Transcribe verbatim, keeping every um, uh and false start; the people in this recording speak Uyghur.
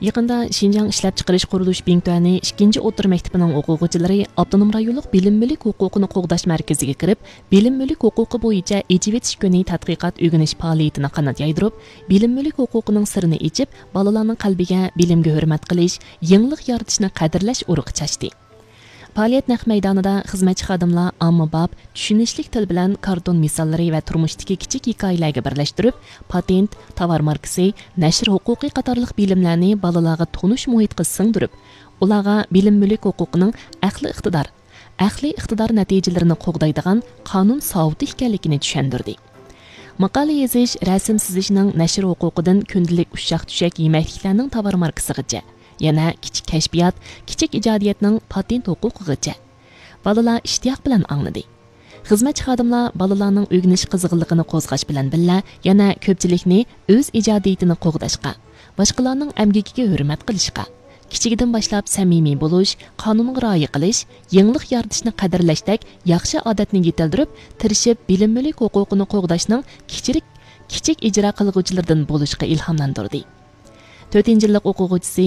يېقىندا شىنجاڭ ئىشلەپچىقىرىش قۇرۇلۇش بىڭتۈەنى ئىككىنچى ئوتتۇرا مەكتىپىنىڭ ئوقۇغۇچىلىرى ئاپتونوم رايونلۇق بىلىم مۈلۈك ھوقۇقىنى قوغداش مەركىزىگە كىرىپ، بىلىم مۈلۈك ھوقۇقى بويىچە ئېچىۋېتىش كۈنى تەتقىقات ئۆگىنىش پائالىيىتىنى قانات يايدۇرۇپ، بىلىم مۈلۈك ھوقۇقىنىڭ سىرىنى ئېچىپ، بالىلارنىڭ قەلبىگە بىلىمگە ھۆرمەت قىلىش، يېڭىلىق يارىتىشنى قەدىرلەش ئۇرۇقى چاچتى. پائالىيەت نەق مەيدانىدا خىزمەتچى خادىملار ئاممىباب، چۈشىنىشلىك تىل بىلەن كارتون مىساللىرى ۋە تۇرمۇشتىكى كىچىك ھېكايىلەرگە بىرلەشتۈرۈپ، پاتېنت، تاۋار ماركىسى، نەشر ھوقۇقى قاتارلىق بىلىملەرنى بالىلارغا تونۇش مۇھىتقا سىڭدۈرۈپ، ئۇلارغا بىلىم مۈلۈك ھوقۇقىنىڭ ئەقلىي ئىقتىدار، ئەقلىي ئىقتىدار نەتىجىلىرىنى قوغدايدىغان قانۇن ساۋۇتى ئىكەنلىكىنى چۈشەندۈردى. ماقالە يېزىش، رەسىم سىزىشنىڭ نەشر ھوقۇقىدىن كۈندىلىك ئۇششاق-چۈشەك يېمەكلىكلەرنىڭ تاۋار ماركىسىغىچە، يەنە كىچىك كەشپىيات، كىچىك ئىجادىيەتنىڭ پاتېنت ھوقۇقىغىچە. بالىلار ئىشتىياق بىلەن ئاڭلىدى. خىزمەتچى خادىملار بالىلارنىڭ ئۆگىنىش قىزغىنلىقىنى قوزغاش بىلەن بىللە، يەنە كۆپچىلىكنى ئۆز ئىجادىيىتىنى قوغداشقا، باشقىلارنىڭ ئەمگىكىگە ھۆرمەت قىلىشقا، كىچىكىدىن باشلاپ سەمىمىي بولۇش، قانۇنغا رىئايە قىلىش، يېڭىلىق يارىتىشنى قەدىرلەشتەك ياخشى ئادەتنى يېتىلدۈرۈپ، تىرىشىپ بىلىم مۈلۈك ھوقۇقىنى قوغداشنىڭ كىچىرىك، كىچىك ئىجرا قىلغۇچىلىرىدىن بولۇشقا ئىلھاملاندۇردى. تۆتىنچى يىللىق ئوقۇغۇچىسى